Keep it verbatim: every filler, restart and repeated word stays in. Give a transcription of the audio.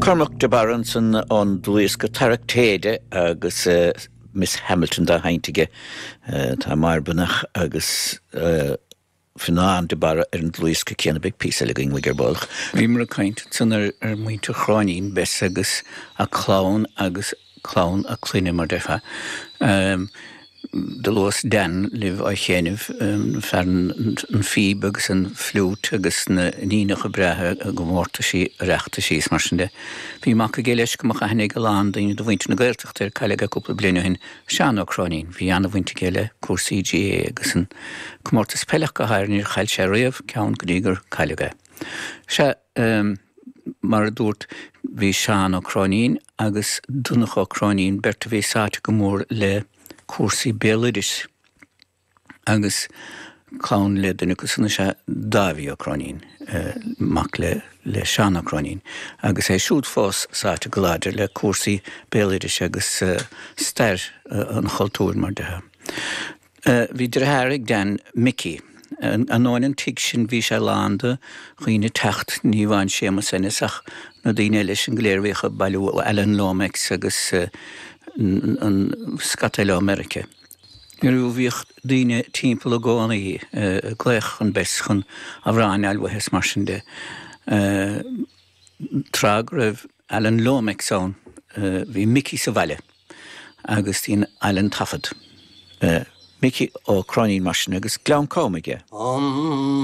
Cormac de Barra ansan an dlúthdhiosca Tarrac Téide agus uh, Miss Hamilton dá sheinnt aige uh, tá Máire Breathnach agus uh, Fionnán de Barra ar an dlúthdhiosca céanna beidh píosa eile againn ar ball. Bhíomar ag caint ansan ar ar muintir Chróinín Bess agus a clann agus clann a clainne mar déarfá. Um, Do luas Dan libh á chéanamh um, fear an phíb agus an fliúit agus na níonacha breátha i gcomórtaisí Oireachtaisí is mar sin de. Bhí mac aige leis go mbeadh aithne ag a lán daoine de mhuintir na Gaeltachta air cailleadh é cúpla bliain ó shin Seán Ó Cróinín, bhí an-bhaint aige le cúrsaí GAA agus an comórtas peile go háirithe níor chaill sé riamh ceann go dtí gur cailleadh é. Sea um, mar a dúirt bhí Seán Ó Cróinín agus Donncha Ó Cróinín beirt a bhí sáite go mór le cúrsaí béaloidis agus clann le duine acu san is ea Dáibhí Ó Cróinín eh, mac le le Seán Ó Cróinín, agus é siúd fós sáite go láidir le cúrsaí béaloidis agus uh, stair uh, an chultúir mar déarfá. Uh, bhí deartháir ag Dan Mickey. An an tigh sin bhí sé lán de dhaoine teacht ní amháin Séamus Ennis ach na daoine eile sin go léir bhíodh ag bailiú Alan Lomax agus uh, an scata eile Meiriceá. Nuair bhíodh daoine timpeall i gcónaí glaoch chun Bess chun amhráin a fháil is mar sin de. Tráth go raibh Alan Lomax ann bhí Mickey sa bhaile agus dhein Alan taifead. Mickey Ó Cróinín mar sin agus Gleann Cam aige.